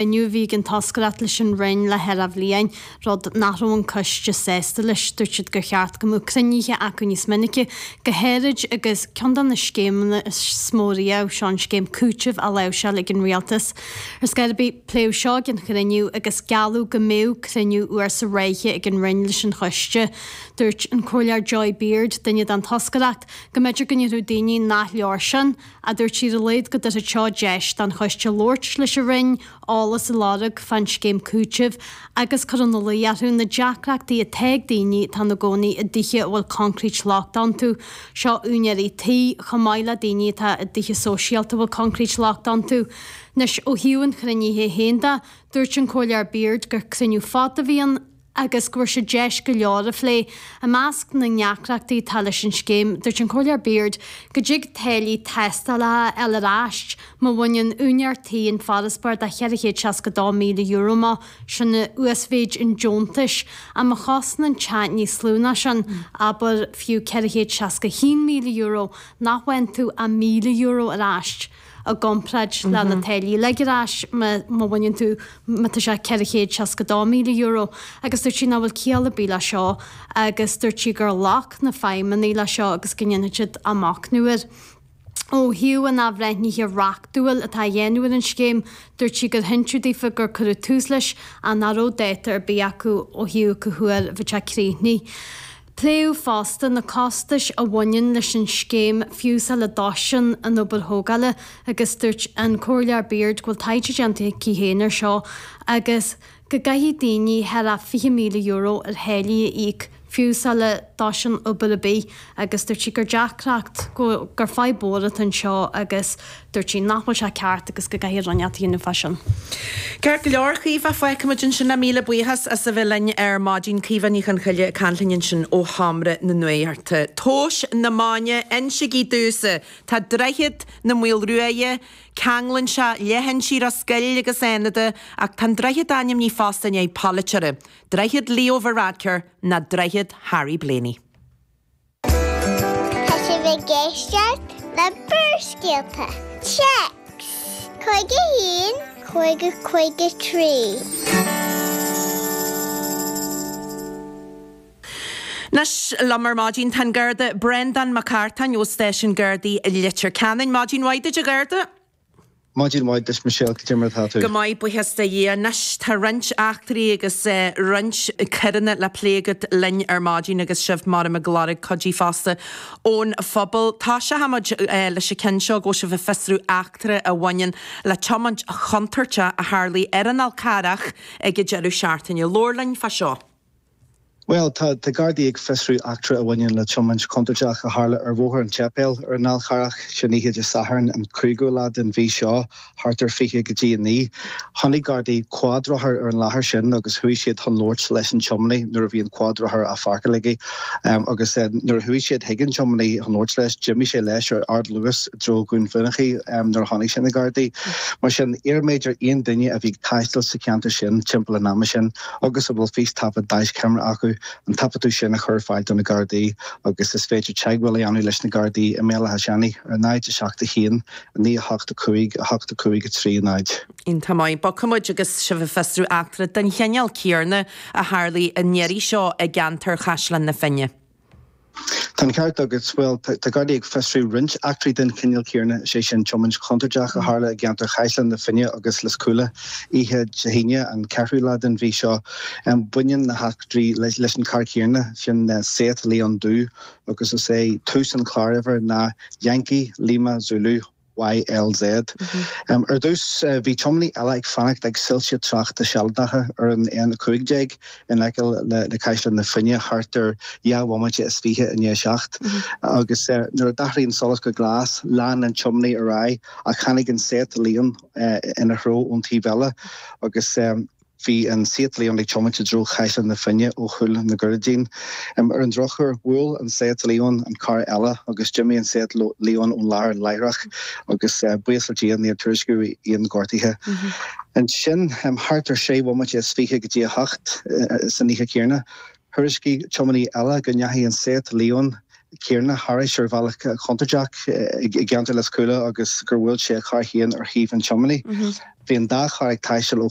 Inniu bhí ag an toscaireacht leis an Roinn le thar bhliain, rud nach raibh an coiste sásta leis. Dúirt siad gur cheart go mbeadh cruinnithe acu níos minice, go háirid agus ceann de na scéimeanna is mó riamh, seo an scéim cúitimh á láimhseáil ag an Rialtas. Ar scor ar bith, pléadh seo ag an chruinniú agus gealladh go mbeadh cruinniú uair sa ráithe ag an Roinn leis an choiste. Dúirt an Comhairleoir Joy Beard, duine den toscaireacht, go mb'fhéidir go ndéarfadh daoine nach leor sin, Ach dúirt sí ar a laghad go dtabharfadh seo deis don choiste labhairt leis an Roinn, eolas a lorg fán scéim cúitimh agus cur ina luí orthu na deacrachtaí atá ag daoine atá ina gcónaí i dtithe a bhfuil concrete lochtach iontu. Seo úinéirí tí, chomh maith le daoine atá i dtithe sóisialta a bhfuil concrete lochtach iontu. Anois, ó thaobh an chruinnithe féin de, dúirt an Comhairleoir Beard gur cruinniú fada a bhí ann, agus go bhfuair siad deis go leor a phlé. I measc na ndeacrachtaí atá leis an scéim, dúirt an Comhairleoir Beard go dtig táillí tástála a fháil ar ais má bhaineann úinéir tí an farasbarr de €462,000 amach, sin uasmhéid an deontais, ach má chosnaíonn teach níos lú ná sin, abair fiú €461,000, nach bhfaigheann tú ach €1,000 ar ais. i gcomparáid le na táillí a ligean ar ais má bhaineann tú, má tá sé €462,000 agus dúirt sí nach bhfuil ciall ar bith le seo agus dúirt sí gur ghlac na feidhmeannaigh le seo agus go ndéanfaidh siad machnamh air. Ó thaobh an athbhreithnithe reachtúil atá á dhéanamh ar an scéim, dúirt sí gur hinseadh daofa gur cuireadh tús leis ach nach raibh dáta ar bith acu ó thaobh cá huair a bheadh sé críochnaithe. Pléadh fosta na costais a bhaineann leis an scéim fiú sula dtosaíonn an obair thógála agus dúirt an Comhairleoir Beard go bhfuil taighde déanta aici féin air seo agus go gcaithfidh daoine thar €20,000 ar tháillí a íoc fiú sula dtosaíonn obair ar bith agus dúirt sí gur deacracht, gur fadhb mhór atá anseo agus Dúirt sí nach bhfuil sé ceart agus go gcaithfidh rud inteacht a dhéanamh fá sin. Ceart go leor, Caoimhe, fágfaimid ansin é. Míle buíochas as a bheith linn ar maidin. Caoimhe Ní Chonchoille ag caint linn ansin ó Sheomra na Nuachta. Tomhas na Máine, Insígí domhsa, tá Droichead na Maoilruaidhe, ceanglann sé leithinsí Ros Goill agus Fhánada, ach tá an droichead ainmnithe fosta i ndiaidh polaiteora, Droichead Leo Varadkar ná Droichead Harry Blaney. Tá sibh ag éisteacht le Barrscéalta. Téacs 51 50 53. Anois liom ar maidin tá an Garda Breandán Mac Artáin ó Stáisiún Gardaí Leitir Ceanainn. Maidin mhaith duit a Gharda. Maidin mhaith duit Michelle, cad é mar atá tú? Go maith, buíochas do Dhia. Anois tá roinnt eachtraí agus roinnt coireanna le plé agat linn ar maidin agus sibh maram ag lorg cuidí fosta ón phobal. Toiseochaimid leis an ceann seo go bhfuil sibh ag fiosrú eachtra a bhaineann le tiomáint chontúirteach a tharlaigh ar an Fhál Carrach ag an deireadh seachtaine. Labhair linn fá seo. Bhuel, tá Gardaí ag fiosrú eachtra a bhaineann le tiomáint chontúirteach a tharla ar Bhóthar an tSéipéil ar an Fhál Charrach, sin oíche Dé Sathairn, an cúigiú lá den mhí seo, thart ar 20 go dtí 9. Chonaic Gardaí cuadrothar ar an láthair sin agus chuaigh siad chun labhairt leis an tiománaí nuair a bhí an cuadrothar á pháirceáil aige. Agus nuair a chuaigh siad chuig an tiománaí chun labhairt leis, d'imigh sé leis ar ardluas i dtreo Dhún Fionnachaidh nuair a chonaic sé na Gardaí. Mar sin, iarraimid ar aon duine a bhí ag taisteal sa cheantar sin timpeall an ama sin, agus a bhfuil fístaifead daischeamara acu, an taifeadadh sin a chur ar fáil do na Gardaí agus is féidir teagmháil a dhéanamh leis na Gardaí i mBéal Átha Seanaidh ar 0 7 1 9 8 5 8 5 3 0. Iontach maith. Bogfaimid agus sibh ag fiosrú eachtra den chineál céanna a tharlaigh an iarraidh seo i gceantar Chaisleán na Finne. Tá an ceart agat. Bhuel, tá Gardaí ag fiosrú roinnt eachtraí den chineál céanna, is é sin tiomáint chontúirteach a tharla i gceantar Chaisleán na Finne agus Lios Cúla oíche Dé hAoine, an ceathrú lá den mhí seo. Baineann na heachtraí leis an charr céanna, sin Seat Leon dubh, agus is é tús an chláruimhir ná Yankee Lima Zulu. YLZ. Ar dtús, bhí tiománaí eile ag fanacht ag soilse tráchta sealadacha ar an N15 in aice le Caisleán na Finne thart ar dhá bhomaite is fiche i ndiaidh a seacht agus nuair a d'athraigh an solas go glas, lean an tiománaí ar aghaidh ach tháinig an Seat Leon ina threo ón taobh eile agus Bhí an Seat Leon ag tiomáint i dtreo Chaisleán na Finne ó Chúil na gCurraidín. Ar an drochuair, bhuail an Seat Leon an carr eile agus d'imigh an Seat Leon ón láthair láithreach agus buíochas le Dia níor tuairiscíodh aon ghortuithe. Ansin, thart ar sé bhomaite is fiche go dtí a hocht san oíche chéanna, thuairiscigh tiománaí eile go ndeachaigh an Seat Leon. céanna thairis ar bhealach contúirteach i gceantar Lios Cúla agus gur bhuail sé a charr féin ar thaobh an tiománaí. Bhí an dá charr ag taisteal ó.